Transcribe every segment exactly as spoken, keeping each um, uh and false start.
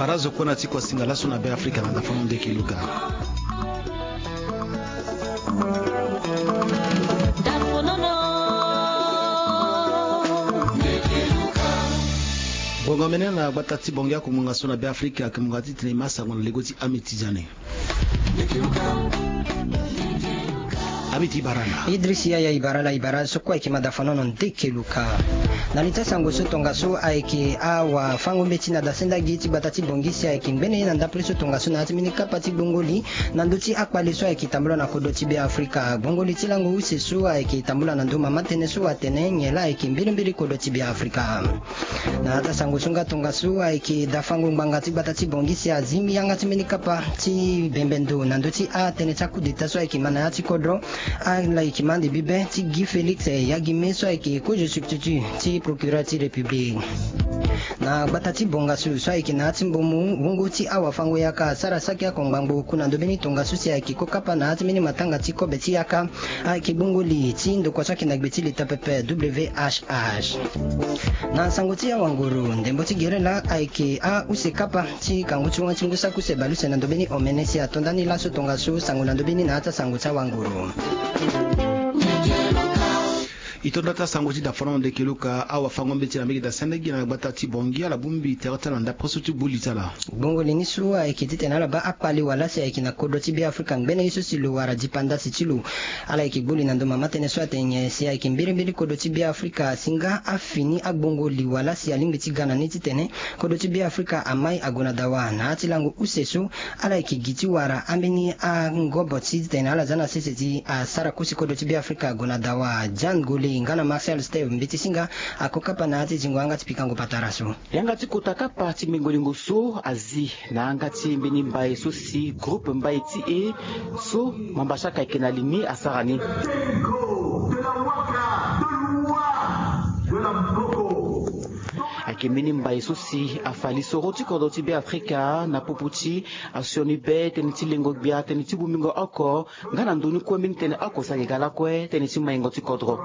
Para zo kue na ti kuasinga laso na Be Afrika na dafa mo ndeke luka. Bonga mene na gbata ti Bongi akongbanga so na Be Afrika, akongbanga ti tene e ma sango na lego ti Amitidiane. Amiti Barala. Idris Yaya Ibarala Ibara so kue ayeke ma dafanono ndeke luka. Na li ti asango so tongaso ayeke awafango-mbeti na dasenda gi ti gbata ti Bongi si ayeke ngbene ye na ndapre so tongaso na ya ti mbeni kapa ti gbongo li na ndö ti akpale so ayeke tambula na kodro ti Be Afrika. Gbongo li ti lango use so ayeke tambula na ndö mama tënë so atene nyen laa ayeke mbirimbiri kodro ti Be Afrika. Na ya ti asango so nga tongaso ayeke dafango ngbanga ti gbata ti Bongi si azi yanga ti mbeni kapa ti bembe ndo na ndö ti atënë ti a-coup d'état so ayeke ma na ya ti kodro. Ala yeke ma ande bibe ti Guy Félix Yagime so ayeke kozo substitut ti procureur ti République. Na gbata ti Bongasu so ayeke na ya ti Mbomu, wungo ti awafango-yaka asara saki ako ngbangbo ku na ndo mbeni tongaso si ayeke ko kapa na ya ti mbeni matanga ti kobe ti yaka. Ayeke gbongo li ti ndokua so ayeke na gbe ti leta pepe, W H H. Na sango ti awanguru, ndembo ti gere laa ayeke ause kapa ti kangu ti wan ti ngu saki use baleuse na ndo mbeni omene si ato ndani laso tongaso. Sango na ndo mbeni na ya ti asango ti awanguru. E to nda ti asango ti dafana mo ndeke luka, awafango-mbeti na mbage dasendege na gbata ti Bongi ala bongbi tere ti ala na ndapre so ti gbu li ti ala. Gbongo li ni so ayeke titene ala baa akpale wala si ayeke na kodro ti Be Afrika ngbene ye so si lo wara dipandasi ti lo. Ala yeke gbu li na ndo mama tënë so atene nyen si ayeke mbirimbiri kodro ti Be Afrika asi nga afini agbongo li wala si alingbi ti ga na ni titene kodro ti Be Afrika amai ague na dawa. Na ya ti lango use so, ala yeke gi ti wara ambeni angobo ti titene ala za na sese ti asara kosi kodro ti Be Afrika ague na dawa. Jan Gole nga na Marcel Steve Mbeti Singa ako kapa na ya ti zingo yanga ti pikango patara so. Yanga ti kota kapa ti mengo-lingo so azi na yanga ti mbeni mbai so si groupe mbai ti e so mambasaka ayeke na li ni asara ni. Ayeke mbeni mbai so si afa lisoro ti kodro ti Be Afrika na popo ti asioni be tënë ti lengo gbia, tënë ti bongbingo oko, nga na ndö ni kue mbeni tënë oko si ayeke ga lakue tënë ti maingo ti kodro.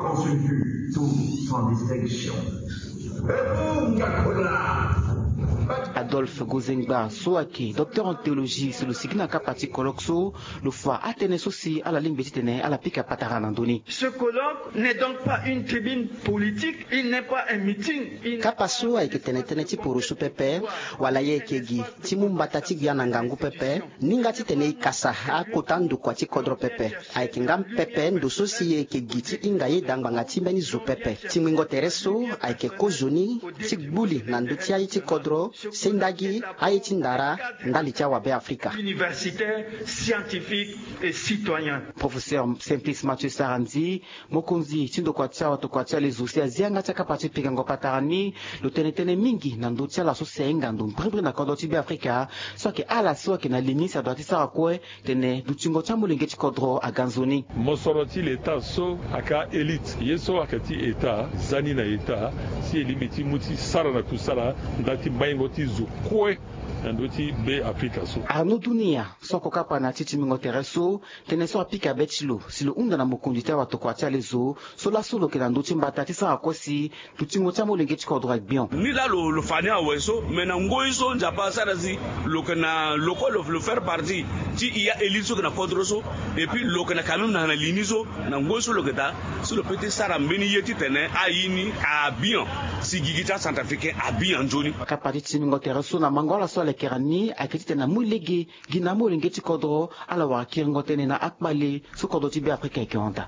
Adolphe Gozengba so ayeke docteur en théologie si lo sigi na kapa ti colloque so, lo fa atënë so si ala lingbi titene ala pika patara na ndö ni. Ce colloque n'est donc pas une tribune politique, il n'est pas un meeting, il n'est pas... Kapa so ayeke tene tënë ti poroso pepe, wala e yeke gi ti mu mbata ti gbia na ngangu pepe, ni nga titene e kasa akota ndokua ti kodro pepe. Ayeke nga pepe ndo so si e yeke gi ti hinga yeda ngbanga ti mbeni zo pepe. Ti ngbingo tere so ayeke kozoni ti gbu li na ndö ti aye ti kodro, sendagi aye ti ndara ndali ti awabe Afrika. Universitaire, scientifique et citoyen. Professeur Simplice Mathieu Sarandji, mokonzi ti ndokua ti awatokua ti alezo si azi yanga ti akapa ti pikango patara ni, lo tene tënë mingi na ndö ti ala so si ahinga ndo mbirimbiri na kodro ti Be Afrika. So ayeke ala so ayeke na li ni si adua ti sara kue tene dutingo ti amolenge ti kodro aga nzoni. Mosoro ti leta so ayeke a-élite ye so ayeke ti état za ni na état si e lingbi ti mu ti sara na kusala nda ti maingo ti zo kue na ndö ti Be Afrika so. Arnaud Dunia so ako kapa na ya ti timbingo tere so, tënë so apika be ti lo si lo hunda na mokonzi ti awatokua ti alezo so laso lo yeke na ndö ti mbata ti sara kue si dutingo ti amolenge ti kodro agbion. Ni laa lo, lo fa ni awe so, me na ngoi so Nzapa asara si lo yeke na lo kue lo, lo faire partie ti e a-élite so yeke na kodro so, et puis lo yeke na quand même na, na li ni so, na ngoi so lo yeke daa, so lo peut ti sara mbeni ye titene aye ni abian, si gigi ti acentrafricain abian nzoni. Kapa ti timbingo tere so na mango ala so alekera ni ayeke titene amu lege gi na amolenge ti kodro, ala wara kiringo tënë na akpale so kodro ti Be Afrika ayeke hon daa.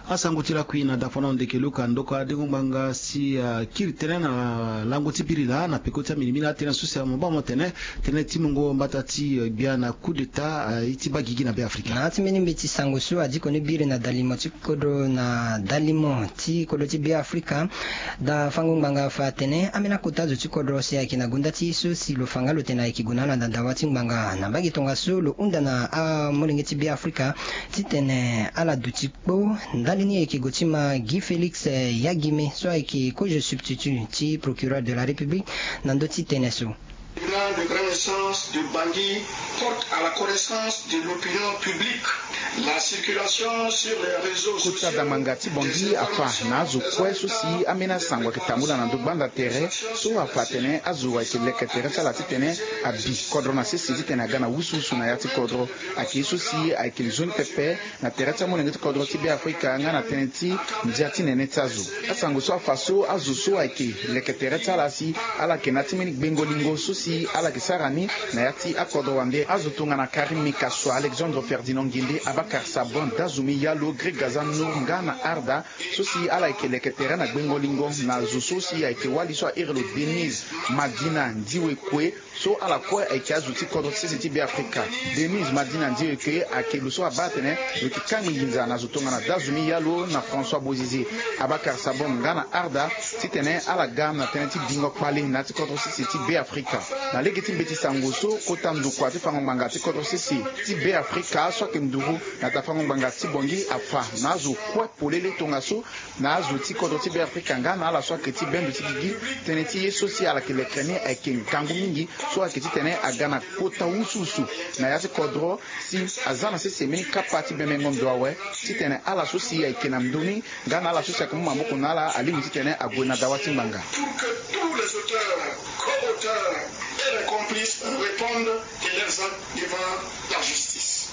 Asango ti lakui na dafana ndeke luka ndoko adengo ngbanga si, ah, kiri tënë na lango ti biri laa na peko ti amini mina atënë so si amabaa mo tene tënë ti mungo mbata ti, eh, gbia na coup d'état, eh, ye ti baa gigi na Be Afrika. Na ya ti mbeni mbeti sango so adi koni biri na dalimo ti kodro na dalimo ti kodro ti Be Afrika. Dafango ngbanga afa atene ambeni akota zo ti kodro si ayeke na gonda ti ye so si lo fa nga lo tene ayeke gue na ala na dawa ti ngbanga. Na mbage tongaso lo hunda na amolenge ti Be Afrika titene ala duti kpo ndali ni e yeke gue ti ma Guy Félix, eh, Yagime so ayeke kozo substitut ti procureur de la République na ndö ti tënë so. Sens de Bangui porte à la connaissance de l'opinion publique la circulation sur les réseaux sociaux. Kota dangbanga ti Bangui afa na azo kue so si ambeni asango ayeke tambula na ndo gbanda tere so afa atene azo ayeke leke tere ti ala titene abi kodro na sese titene aga na wusuwusu na ya ti kodro. Ayeke ye so si ayeke nzoni pepe na tere ti amolenge ti kodro ti Beafrika nga na tënë ti ndia ti nene ti azo. Asango so afa so azo so ayeke leke tere ti ala si ala yeke na ya ti mbeni gbengo lingo so si ala yeke sara ni na ya ti akodro wande. Azo tongana Karim Mekassoua, Alexandre Ferdinand Nguindé, Abakar Sabon, Dazoume Yallo, Greg Gazan Nour nga na Arda so si ala yeke leke tere na gbengo lingo na zo so si ayeke wali so a iri lo Denise Madina Ndiwekwe. So ala kue ayeke azo ti kodro ti sese ti Beafrika. Denise Madina Ndiwekwe ayeke lo so abaa atene lo yeke kangbi nginza na zo tongana Dazoume Yallo na François Bozizé, Abakar Sabon nga na Arda titene ala ga na tënë ti bingo kpale na ya ti kodro ti sese ti Beafrika. Na lege ti mbeti sango so kota ndokua ti fango ngbanga ti kodro ti sese ti Beafrika so ayeke nduru na ta fango ngbanga ti Bangui afa na azo kue polele tongaso na azo ti kodro ti Beafrika nga na ala so ayeke ti bendo ti gigi. Tënë ti ye so si ala yeke leke ni ayeke ngangu mingi so ayeke titene aga na kota wusuwusu na ya ti kodro si aza na sese mbeni kapa ti bemengo ndo awe titene ala so si ayeke na ndö ni nga na ala so si ayeke mu maboko na ala alingbi titene ague na dawa ti ngbanga. Pour que tous les auteurs, co-auteurs et les complices répondent de leurs actes devant la justice.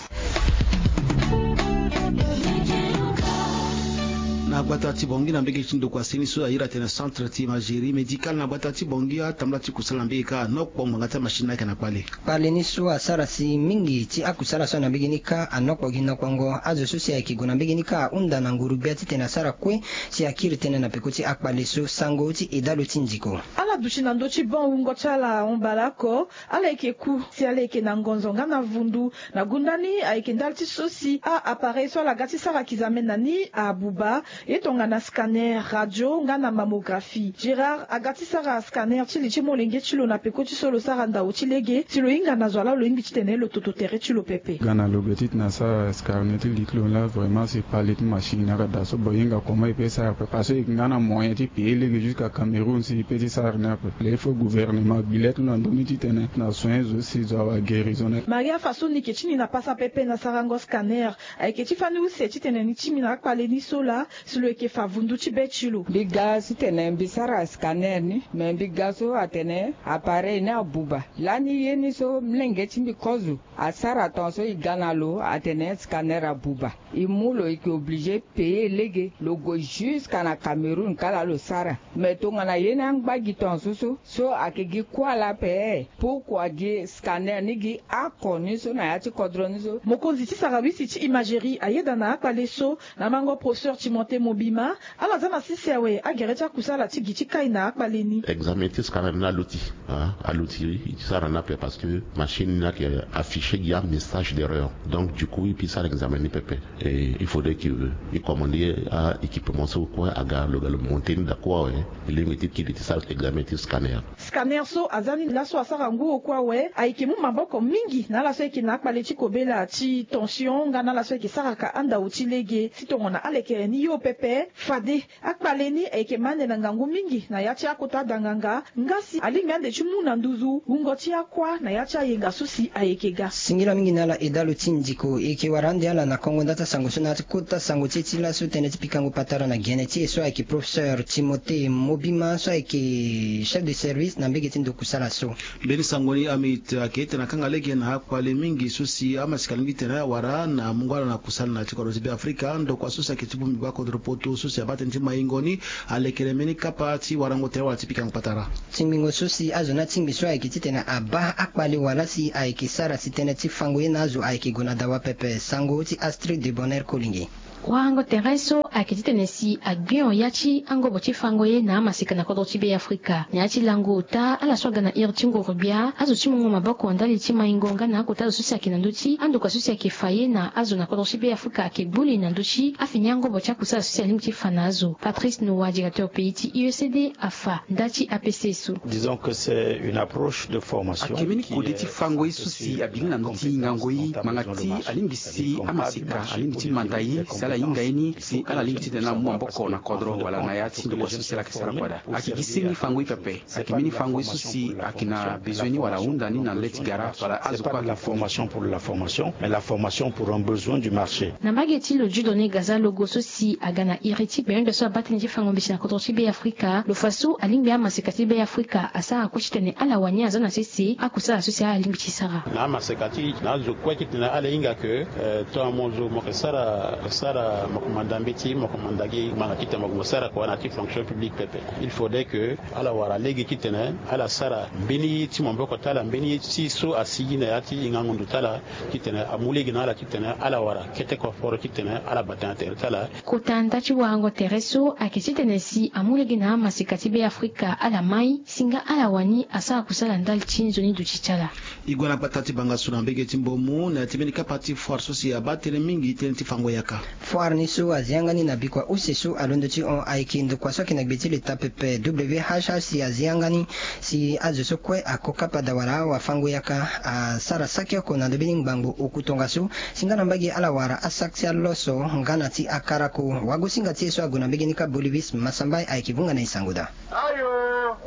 Na gbata ti Bangui na mbege ti ndokua seni so a iri atene centre ti imagerie médicale na gbata ti Bangui atambula ti kusala na mbege kâ anokpo ngbanga ti amachine ni ayeke na kpale. Kpale ni so asara si mingi ti akusala so na mbege ni kâ anokpo gi nokongo. Azo so si ayeke gue na mbege ni kâ ahunda na nguru gbia titene asara kue si akiri tënë na peko ti akpale so. Sango ti Edalo ti Ndiko. Ala duti na ndö ti banc wungo ti ala ahon baleoko. Ala yeke ku si ala yeke na ngonzo nga na vundu. Na gunda ni ayeke ndali ti so si a-appareil so ala ga ti sara kizame na ni abuba. Ye tongana scanner, radio nga na mammographie. Gérard aga ti sara scanner ti li ti molenge ti lo na peko ti so lo sara ndau ti lege si lo hinga na zo ala lo lingbi titene lo toto tere ti lo pepe. Ga na lo be titene asara scanner ti li ti lo laa, vraiment si kpale ti machine ni ayeke daa so, bon, e hinga comment e peut sara pepe parce que e yeke nga na moyen ti payer lege jusqu'à Cameroun si e peut ti sara ni ape. Là il faut gouvernement gbi le ti lo na ndö ni titene na soin zo si zo awa guérison ni. Maria Faso ni yeke ti ni na pasa pepe na sarango scanner. Ayeke ti fani use titene ni ti mi na akpale ni so laa si lo yeke fa vundu ti be ti lo. Mbi ga titene mbi sara scanner ni, me mbi ga so atene appareil ni abuba. Lani ye ni so molenge ti mbi kozo asara tongaso e ga na lo atene scanner abuba. E mu lo, e yeke obligé payer lege, lo gue jusqu'à na Cameroun kâ laa lo sara. Me tongana ye ni angba gi tongaso so, so ayeke gi kuâ laa ape, pourquoi gi scanner ni gi oko ni so na ya ti kodro ni so? Mokonzi ti sarawisi ti imagerie ayeda na akpale so na mango professeur Timothée Mobima. Ala za na sese awe agere ti akusala ti gi ti kai na akpale ni. Examen ti scanner ni aluti, ah, aluti e ti sara ni ape parce que machine ni ayeke afficher gi amessage de rayon. Donc du coup e peut sara examen ni pepe. Et il faudrait que e commander a-équipement so kue aga lo ga lo monter ni daa kue awe. E lingbi ti kiri ti sara examen ti scanner. Scanner so aza ni laso asara ngu oko awe, ayeke mu maboko mingi na ala so ayeke na akpale ti kobela ti tension nga na ala so ayeke saraka andau ti lege. Si tongana alekere ni yo pepe, fade akpale ni ayeke ma ande na ngangu mingi na ya ti akota danganga, nga si alingbi ande ti mu na nduzu wungo ti akua na ya ti ayenga so si ayeke ga. Singila mingi na ala Edalo ti Ndiko. E yeke wara ande ala na kongo nda ti asango so na ya ti kota sango ti e ti laso, tënë ti pikango patara na gene ti e so ayeke professeur Timothée Mobima so ayeke chef de service na mbege ti ndokusala so. Mbeni sango ni amit ayeke ete na kanga lege na akpale mingi so si amasika alingbi titene awara na mungo ala na kusala na ya ti kodro ti Beafrika. Ndokua so si ayeke ti bongbi gba kodro poto so si abaa tënë ti maingo ni alekere mbeni kapa ti warango tere wala ti pikango patara. Tingbingo so si azo ni atingbi so ayeke titene abaa akpale wala si ayeke sara si tënë ti fango ye na azo ayeke gue na dawa pepe. Sango ti Astrid de Bonheur Kolinge. Warango tere so ayeke titene si agbion ya ti angobo ti fango ye na amaseka na kodro ti Beafrika. Na ya ti lango ota ala so aga na iri ti nguru-gbia, azo ti mungo maboko ndali ti maingo nga na akota azo so si ayeke na ndö ti andokua so si ayeke fa ye na azo na kodro ti Beafrika ayeke gbu li na ndö ti afini angobo ti akusala so si alingbi ti fa na azo. Patrice Noa, directeur pays ti U E C D, afa nda ti A P C so. Disons que c'est une approche de formation. Ayeke mbeni kode ti fango ye so si abiri na ndö ti hingango ye ngbanga ti alingbi si amaseka alingbi ti manda ye si ala Ahinga ye ni si ala lingbi titene ala mu maboko na kodro wala na ya ti ndokua so si ala yeke sara kua daa. Ayeke gi siriri fango ye pepe. Ayeke mbeni fango ye so si ayeke na bezoin ni wala ahunda ni na le ti gara wala azo kue. La formation pour la formation, mais la formation pour un besoin du marché. Na mbage ti lo Dieudonné Gaza Logo so si aga na iri ti gbenyondo so abaa tënë ti fango mbeti na kodro ti Be Afrika, lo fa so alingbi amaseka ti Be Afrika asara kue titene ala wani aza na sese akusala so si ala lingbi ti sara. Na amaseka ti na azo kue titene ala hinga ke, eh, tongana mo zo mo yeke sara, sara mo yeke manda mbeti, mo yeke manda gi ngbanga titene mo yeke mo sara kua na ya ti fonction publique pepe. Il faudrait que ala wara lege titene ala sara mbeni ye ti maboko ti ala, mbeni ye ti so asigi na ya ti hingango ndo ti ala, titene amu lege na ala titene ala wara kete koforo titene ala bata na tere ti ala. Kota nda ti warango tere so ayeke titene si amu lege na amaseka ti Be Afrika ala mai si nga ala wani asara kusala ndali ti nzoni duti ti ala. E gue na gbata ti bangasu na mbege ti Mbomu na ya ti mbeni kapa ti foire so si abaa tënë mingi tënë ti fango yaka. Foire ni so azi yanga ni na bikua use so alondo ti hon ayeke ndokua so ayeke na gbe ti leta pepe W H H si azi yanga ni si azo so kue ako kapa daa wala awafango yaka asara saki oko na ndö mbeni ngbangbo oku tongaso si nga na mbage ala wara asaki ti aloso nga na ti akarako. Wagosinga ti e so ague na mbege ni kâ Bolivis Masambai ayeke vunga na e sango daa. Ayo,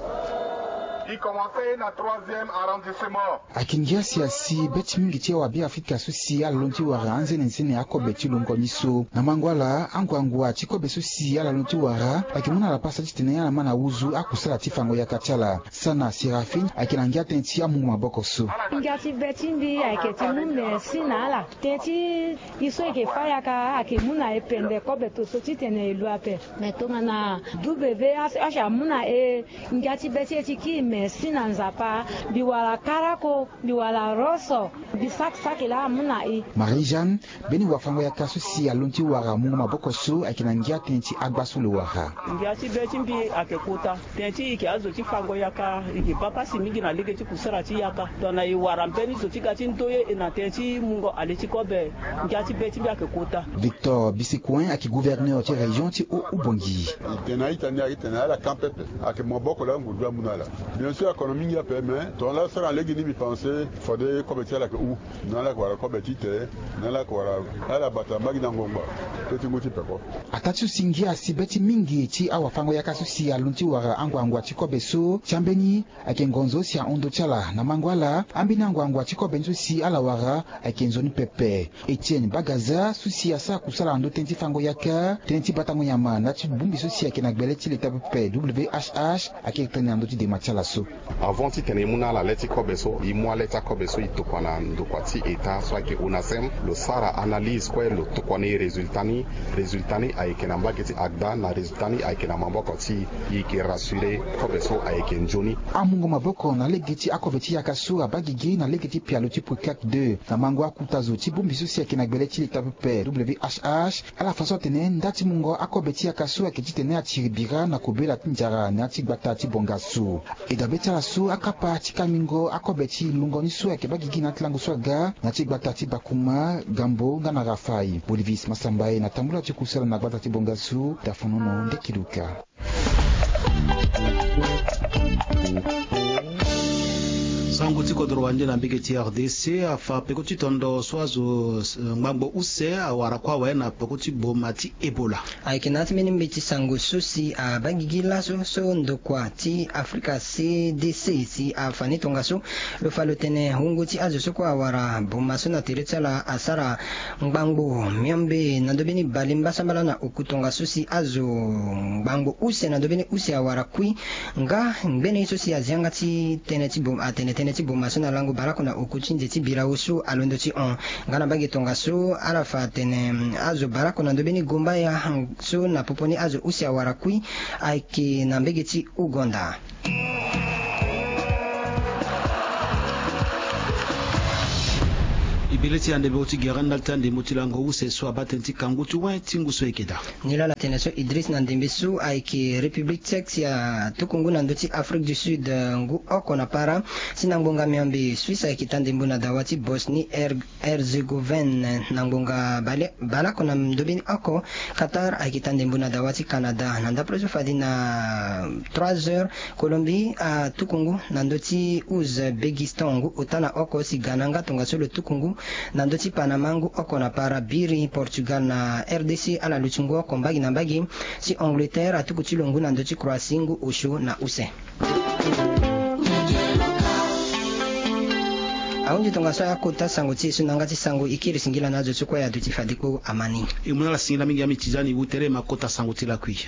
e commence na troisième arrondissement. Ayeke ngia si asi be ti mingi ti awabe Afrika so si ala londo ti wara anzene nzene akobe ti lungo ni so. Na mango ala, anguangua ti kobe so si ala londo ti wara ayeke mu na ala pasa titene ala ma na wuzu akusala ti fango yaka ti ala. Sana Séraphin ayeke na ngia tënë ti amungo maboko so. Ngia ti be ti mbi ayeke ti mu merci na ala. Tënë ti e so e yeke fâ yaka ayeke mu na e pende kobe to so titene e lu ape. Me tongana W H H amu na e ngia ti be ti e ti kiri merci na Nzapa. Mbi wara karako, mbi wara roso, mbi saki saki laa amu na e. Marie-Jeanne, mbeni wafango yaka so si alondo ti wara mungo maboko so ayeke na ngia tënë ti agba so lo wara. Ngia ti be ti mbi ayeke kota. Tënë ti e yeke azo ti fango yaka, e yeke baa pasi mingi na lege ti kusara ti yaka. Tongana e wara mbeni zo ti ga ti ndoye e na tënë ti mungo ale ti kobe, ngia ti be ti mbi ayeke kota. Victor Bisikouin ayeke gouverneur ti région ti Haut-Oubangui. E tene na ita ni ayeke tene na ala kan pepe. Ayeke maboko laa ngu du amu na ala. Bien sûr akono mingi ape, mais tongana laa asara na lege ni mbi pense fade kobe ti ala ayeke hu. Na ala yeke wara kobe ti te, na ala yeke wara ala bata mbage na ngbongba. Pe ti ngu ti peko. Ataa ti so si ngia asi be ti mingi ti awafango yaka so si alondo ti wara anguangua ti kobe so ti ambeni ayeke ngonzo si ahon ndö ti ala. Na mango ala, ambeni anguangua ti kobe ni so si ala wara ayeke nzoni pepe. Etienne Bagaza so si asara kusala na ndö tënë ti fango yaka, tënë ti batango nyama na ya ti bongbi so si ayeke na gbele ti leta pepe W H H ayeke tene na ndö ti dema ti ala so. Avant titene e mu na ala le ti kobe so, e mu ale ti akobe so e tokua na ndokua ti État so ayeke ONASEM. Lo sara analyse kue, lo tokua na e résultat ni. Résultat ni ayeke na mbage ti agda, na résultat ni ayeke na maboko ti e. E yeke rassurer, kobe so ayeke nzoni. Amungo maboko na lege ti akobe ti yaka so abaa gigi na lege ti pialo ti Poclac deux. Na mango akuta zo ti bongbi so si ayeke na gbele ti leta pepe W H H, ala fa so atene nda ti mungo akobe ti yaka so ayeke titene atiri bira na kobela ti nzara na ya ti gbata ti bonga so. E dabe ti ala so akapa ti kangbingo akobe ti lungo ni so ayeke baa gigi na ya ti lango so aga na ya ti gbata ti Bakuma, Gambo nga na Rafaï. Bolivis Masambai na tambula ti kusala na gbata ti bonga so, Dafonono Ndekiluka. Sango ti kodro wande na mbege ti R D C afa peko ti tondo so azo, eh, ngbangbo use awara kue awe na peko ti boma ti Ebola. Ayeke na ya ti mbeni mbeti sango so si abaa gigi laso so ndokua ti Afrika C D C si afa ni tongaso. Lo fa lo tene wungo ti azo so kue awara boma so na tere ti ala asara ngbangbo miombe na ndö mbeni bale mbasambala na oku tongaso si azo ngbangbo use na ndö mbeni use awara kui. Nga ngbene ye so si azi yanga ti tënë ti boma, atene tënë ti boma so na lango bale oko na oku ti nze ti bira osu alondo ti hon. Nga na mbage tongaso ala fa atene azo bale oko na ndö mbeni gombaya so na popo ni azo use awara kui ayeke na mbege ti Ouganda. Ebele ti andembo ti gere ndali ti andembo ti lango use so abaa tënë ti kangu ti wai ti ngu so ayeke daa. Nilala tene so Idriss na ndembe so ayeke République Tchèque si atuku ngu na ndö ti Afrique du Sud, eh, ngu oko na para. Si na ngbonga miombe Suisse ayeke taa ndembo na dawa ti Bosnie Her- Herzegovine. Na ngbonga bale- bale oko na ndö mbeni oko Qatar ayeke taa ndembo na dawa ti Canada. Na ndapre so fade na trois heures Colombie atuku ngu na ndö ti Ouzbékistan ngu ota na oko si Ghana nga tongaso lo tuku ngu Na ndö ti Panama, ngu oko na para biri Portugal na R D C, ala luti ngu oko mbagi na mbagi. Si Angleterre atuku ti lo ngu na ndö ti Croatie, ngu osio na use. Ahunzi tongaso aya kota sango ti e so na yanga ti sango. E kiri singila na azo ti kue aduti fade kpo amani. E mu na ala singila mingi ami ti zani wu tere ma kota sango ti lakui.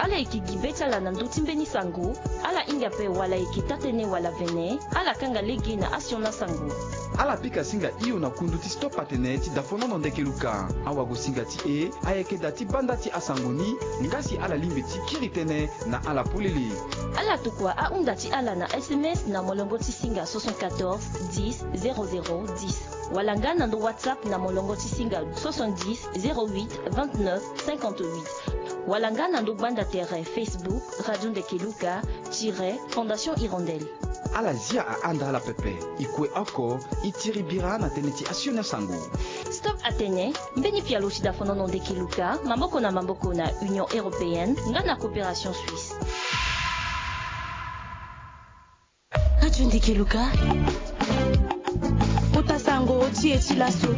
Ala yeke gi be ti ala na ndö ti mbeni sango. Ala hinga ape wala e yeke taa-tënë wala vene, ala kanga lege na asioni asango. Ala pika singa hio na kundu ti Stop Atene ti dafonono Ndeke Luka. Awagosinga ti e ayeke daa ti banda ti asango ni, nga si ala lingbi ti kiri tënë na ala polele. Ala tokua ahunda ti ala na S M S na molongo ti singa soixante-quatorze dix zéro zéro dix, wala nga na ndo WhatsApp na molongo ti singa soixante-dix zéro huit vingt-neuf cinquante-huit, wala nga na ndo gbanda tere Facebook Radio Ndeke Luka tiret Fondation Hirondelle. Ala zia ahanda ala pepe. E kue oko, e tiri bira na tënë ti asioni asango. Stop Atene, mbeni pialo ti dafonono Ndeke Luka, maboko na maboko na Union Européenne nga na Coopération Suisse. Radio Ndeke Luka. Kota sango ti e ti laso.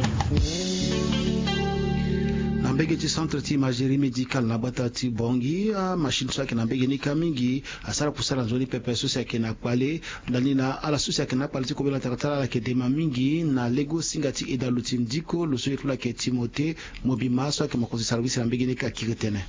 Na mbege ti centre ti imagerie médicale na gbata ti Bangui, amachine so ayeke na mbege ni kâ mingi asara kusala nzoni pepe so si ayeke na kpale. Ndani na ala so si ayeke na akpale ti kobela tara ti ala, ala yeke dema mingi na lege singa ti e daa lo ti ndiko, lo so ye ti lo ayeke Timothée Mobima so ayeke mokonzi service na mbege ni kâ akiri tënë.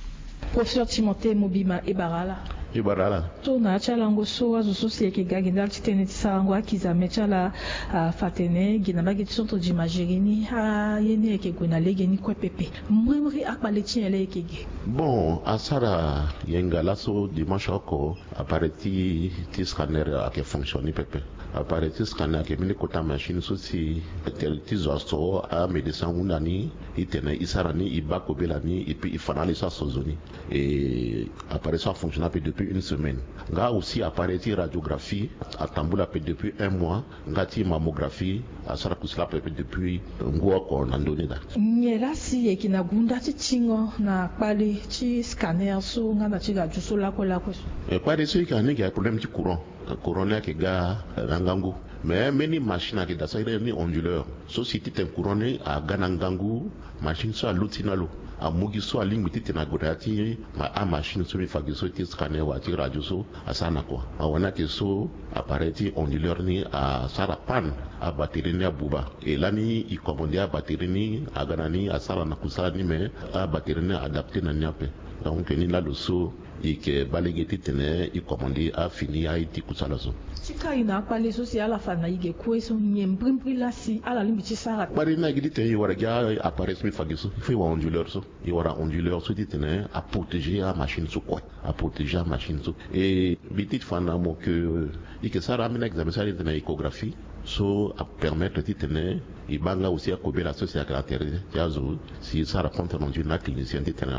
Professeur Timothée Mobima, e bara ala. E bara ala. So na ya ti alango so azo so si ayeke ga gi ndali ti tënë ti sarango akizame ti ala, afa atene gi na mbage ti centre d'imagerie ni, aye ni ayeke gue na lege ni kue pepe. Mbrimbri akpale ti nyen laa e yeke ge? Bon, asara yenga laso dimanche oko, appareil ti, ti scanner ayeke fonctionner pepe. Appareil ti scanner ayeke mbeni kota machine so si tere ti zo aso amédecin ahunda ni, e tene e sara ni, e baa kobela ni, et puis e fa na ala e so aso zo ni. E appareil so afonctionner ape depuis une semaine. Nga aussi appareil ti radiographie atambula ape depuis un mois. Nga ti mammographie asara kusala ape depuis ngu oko na ndö ni daa. Nyen laa si e yeke na gunda ti tingo na kpale ti scanner so nga na ti radio so lakue lakue so? E, kpale so e yeke na ni ayeke problème ti courant. Courant ni ayeke ga na ngangu. Mais mbeni machine ayeke daa so a iri ni onduleur. So si titene courant ni aga na ngangu, machine so aluti na lo. Amu gi so alingbi titene ague na ya ti ma, amachine so mbi fa gi so ti scanner wala ti radio so asara na kua. Awani ayeke so appareil ti onduleur ni asara panne, abatterie ni abuba. E lani e commandé abatterie ni, aga na ni asara na kusala ni, mais abatterie ni adapté na ni ape. Donc ni laa lo so e yeke baa lege titene e commandé afini aye ti kusala so. Ti kai na akpale so si ala fa na e ge kue so, nyen mbrimbri laa si ala lingbi ti sara? Kpale ni ayeke titene e wara gi appareil so mbi fa gi so, il faut e wara onduleur so. E wara onduleur so titene aprotéger amachine so kue. Aprotéger amachine so. E mbi ti fa na mo ke e yeke sara ambeni examen so a iri titene échographie. So apermettre titene e baa nga aussi akobela so si ayeke na tere ti azo si e sara compte rendu na aclinicien titene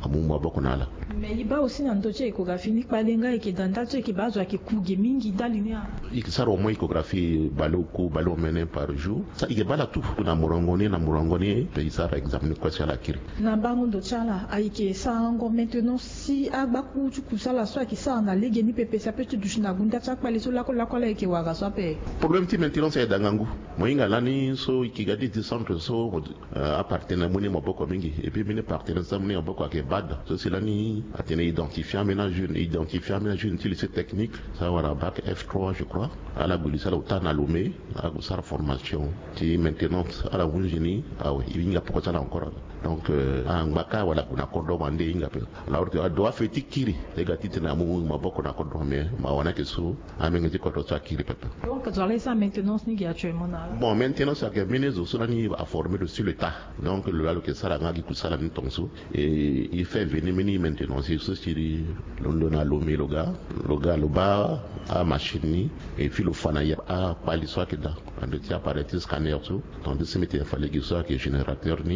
amu maboko na ala. Mais e baa aussi na ndö ti échographie ni kpale nga e yeke daa ndali so e yeke baa azo ayeke ku ge mingi ndali ni a? E yeke sara au moins échographie baleoku baleomene par jour. Sa e yeke baa ala tout na molongo ni na molongo ni, pe e sara examen ni kue si ala kiri. Na mbango ndo ti ala ayeke sarango maintenance si agbakuru ti kusala so ayeke sara na lege ni pepe si ape ti duti na gunda ti akpale so lakue lakue ala yeke wara so ape? Problème ti maintenance ayeke daa ngangu. Mo hinga lani so e yeke ga ti ti centre so, euh, apartenaire mu ni maboko mingi. Et puis mbeni partenaire so amu ni maboko ayeke bad. So si lani atene identifier ambeni ajeune, identifier ambeni ajeune ti lycée technique, so awara bac F trois je crois. Ala gue lycée, ala ota na Lomé, ala gue sara formation ti maintenance, ala hunzi ni awe, e hinga poko ti ala encore. Donc, euh, angba kâ wala ague na kodro wande e hinga ape. Alors que adoit feti kiri e ga titene amu maboko na kodro, mais ma wani ayeke so amenge ti kodro so akiri pepe. Donc zo ala e sara maintenance ni gi actuellement na ala? Bon, maintenance ayeke mbeni zo so lani aformer lo sur le tas. Donc lo laa lo yeke sara nga gi kusala ni tongaso. E, e fait venir mbeni maintenancier so si londo na Lomé lo ga, lo ga lo baa amachine ni, et puis lo fa na e akpali so ayeke daa, na ndö ti appareil ti scanner so. Tandis mbi tene fade gi so ayeke générateur ni.